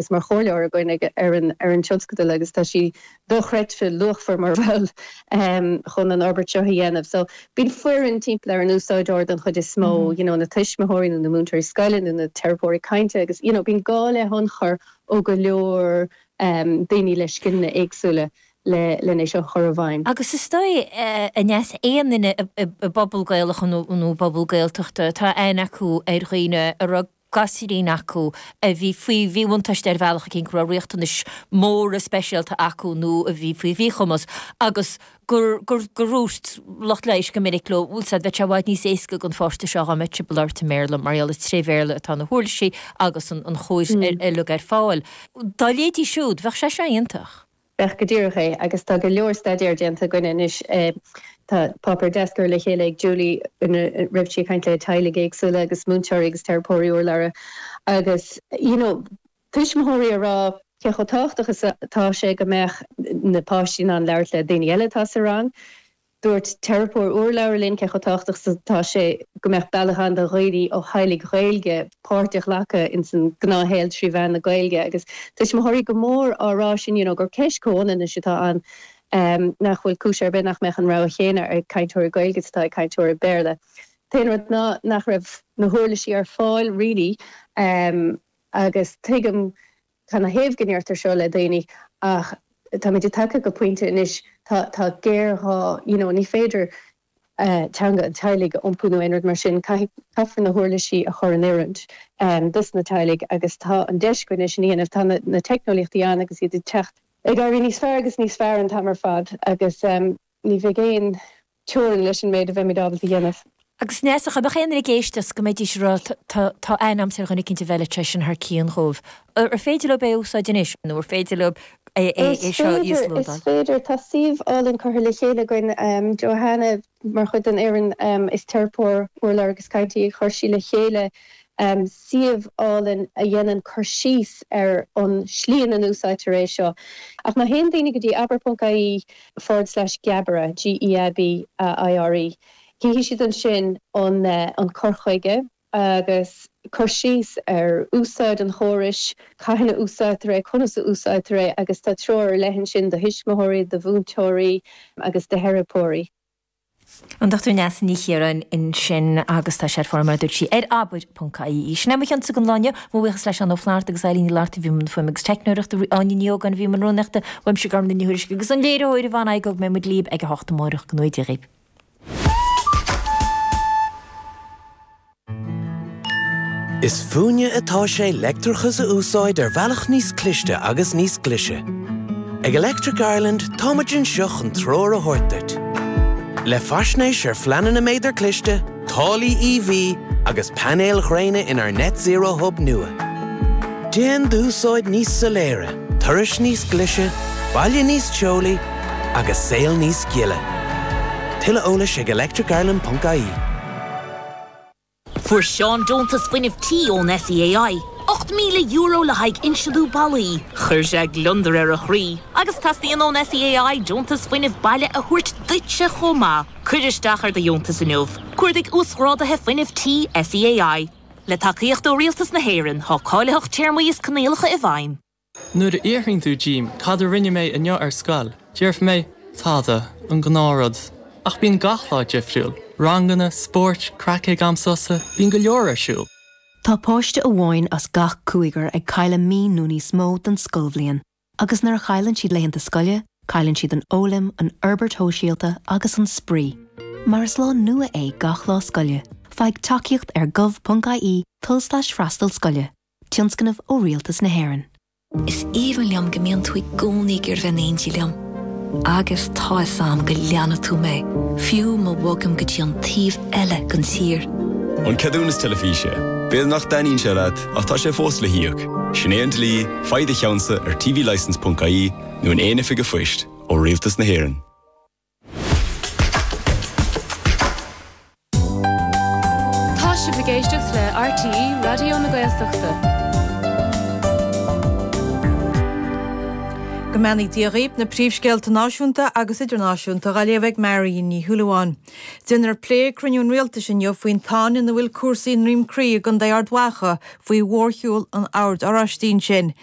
mar chomhairleoir againn ar an ar an tionscadal agus tá sí dochreidte luachmhar mar bhall chun an fhorbairt seo a dhéanamh. So bíonn foireann timpeall ar an úsáideoir den chuid is mó, you know na tuismitheoirí nó na múinteoirí scoile nó na teiripeoirí cainte agus you know bíonn gá le hionchur ó go leor daoine le scileanna éagsúla le len é seo a chur i bhfeidhm. Agus is dóigh, a Neasa, aon duine i bpobal Gaelach nó i bpobal Gaeltachta atá aithne acu ar dhaoine a raibh gasúirín acu a bhí faoi mhíbhuntáiste ar bhealach eicínt, go raibh riachtanais mhóra speisialta acu nó a bhí faoi mhíchumas agus gur, gur, gur dhúirt lucht leighis go minic leo, bhfuil 's a'd, bheadh sé i bhfad níos éasca don pháiste seo dhá mbeadh sibh ag labhairt i mBéarla mar gheall is tré Bhéarla atá na huirlisí agus an, an chóir uilig ar fáil. Dá léidís siúd, bheadh sé seo iontach. Bheadh go díreach é, agus tá go leor staidéar déanta againne anois. Tá páipéar deas curtha le chéile ag Julie ina raibh sí ag caint le teaghlaigh éagsúla agus múinteoirí agus teiripeoirí urlabhra agus you know tuismitheoirí ag rá cé chomh tábhachtach is atá sé go mbeadh na páistí in ann labhairt le daoine eile atá sa rang. Dúirt teiripeoir urlabhra linn cé chomh tábhachtach is atá sé go mbeadh bealach ann do dhaoine ó theaghlaigh Ghaeilge páirt a ghlacadh ins an gnáthshaol trí mheán na Gaeilge agus tuismitheoirí go mór á rá sin you know gur ceist comhionannais atá ann nach bhfuil cúis ar bith nach mbeadh an rogha chéanna ag cainteoirí Gaeilge is atá ag cainteoirí Béarla. T-aon rud ná nach raibh na huirlisí ar fáil really agus tuigim Cad 'na thaobh go ndeirtear seo le daoine ach táimid tagtha go pointe anois, tá, tá géarghá, you know, ní féidir teanga an teaghlaigh a iompú nó aon rud mar sin, caithfidh, caithfear na huirlisí a chur in oiriúint dos na teaghlaigh agus tá an deis againn é sin a dhéanamh. Tá na, na teicneolaíochtaí ann agus iad ag teacht, ag éirí níos fearr agus níos fearr an t-am ar fad agus ní bheidh aon teorainn leis an méid a bheimid ábalta a dhéanamh. Agus Neasa, dá mbeadh aon duine ag éisteacht go mbeidís ag rá tá tá aithne a'msa ar dhuine eicínt a bhfeilfeadh sé sin thar cionn dhóibh. Ar féidir leo é a úsáid anois nó ar féidir leo é é Is seo a féidir, is íoslódáil? féidir. Tá suíomh álainn curtha le chéile againn. Johanna, mar chuid den fhoireann, is teiripeoir urlabhra agus cainte í, chuir sí le chéile suíomh álainn a dhéanann cur síos ar an slí ina n-úsáidtear é seo. Ach má théann daoine go dtí abair.ie forward slash geabaire, G-E-A-B-A-I-R-E, cífidh siad ansin an an cur chuige agus cur síos ar úsáid an chórais, cathain a úsáidtear é, conas a úsáidtear é agus tá treoir ar leith ansin do thuismitheoirí, do mhúinteoirí agus do theiripeoirí. An Dr Neasa Ní Chiaráin ansin agus tá sé ar fáil mar a dúirt sí ar abair.ie. Sin é mo chionsa don lá inniu. Mo bhuíochas le Seán Ó Flatharta agus Eilín Ní Fhlatharta a bhí i mbun fuaime agus teicneoireachta, Áine Ní Ógáin a bhí i mbun rúnaíochta, uaimse Gormfhlaith Ní Thuairisg agus an léiritheoir Yvonne Igoe beidh muid libh ag a hocht amárach. Go ngnóthaí Dia dhaoibh. Is fúinne atá sé leictreachas a úsáid ar bhealach níos cliste agus níos glaise. Ag Electric Ireland táimid anseo chun treoir a thabhairt duit. Le faisnéis ar phleananna méadar cliste, táillí EV agus painéil ghréine inár Net Zero Hub nua. Déan d'úsáid níos soiléire, turais níos glaise, baile níos teolaí agus saol níos gile. Tuilleadh eolais ag electricireland.ie. Fuair Seán deontas fuinnimh tí ón SEAI, €8,000 le haghaidh insealú ballaí. Chuir sé gliondar ar a chroí. Agus teastaíonn ón SEAI deontas fuinnimh baile a thabhairt duitse chomh maith. Cuir isteach ar do dheontas inniu. Cuardaigh Uasghráduithe Fuinnimh Tí SEAI. Le tacaíocht ó Rialtas na hÉireann, tá cáilitheacht, téarmaí is coinníollacha i bhfeidhm. Nuair a fhiafraíonn tú díom cad a rinne mé inniu ar scoil, déarfaidh mé, tada, an gnáthrud. Ach bíonn gach lá difriúil, ranganna, spóirt, craic ag am sosa, bíonn go leor ar siúl. Tá páiste amháin as gach cúigear ag cailleadh mí nó níos mó den scoilbhliain. Agus nuair a chailleann siad laethanta scoile, cailleann siad an fhoghlaim, an fhorbairt shóisialta agus an spraoi. Mar is lá nua é gach lá scoile, faigh tacaíocht ar gov.ie tulslais freastal scoile. Tionscnamh ó Rialtas na hÉireann. Is aoibhinn liom go mbíonn tú i gcónaí ag iarraidh bheith in éindí liom. Agus tá 'fhios a'm go leanfaidh tú mé, fiú má bhogaim go dtí an taobh eile den tír. An ceadúnas teilifíse. B'fhéidir nach dtaitníonn sé leat, ach tá sé fós le híoc. Sin é an dlí, faigh do cheannsa ar tvlicence.ie nó in aon oifig an phoist, ó Rialtas na hÉireann. Tá sibh ag éisteacht le RTÉ Raidió na Gaeltachta. Go. mbeannaí Dia dhaoibh, na príomhscéalta náisiúnta agus idirnáisiúnta á léamh ag Marion Ní Shúilleabháin. Déanfar plé ag cruinniú an Rialtais inniu faoin tsáinn ina bhfuil cúrsaí i nDroim Crí i gContae Ard Mhacha faoi mhórshiúl an Oird Oráistigh ansin.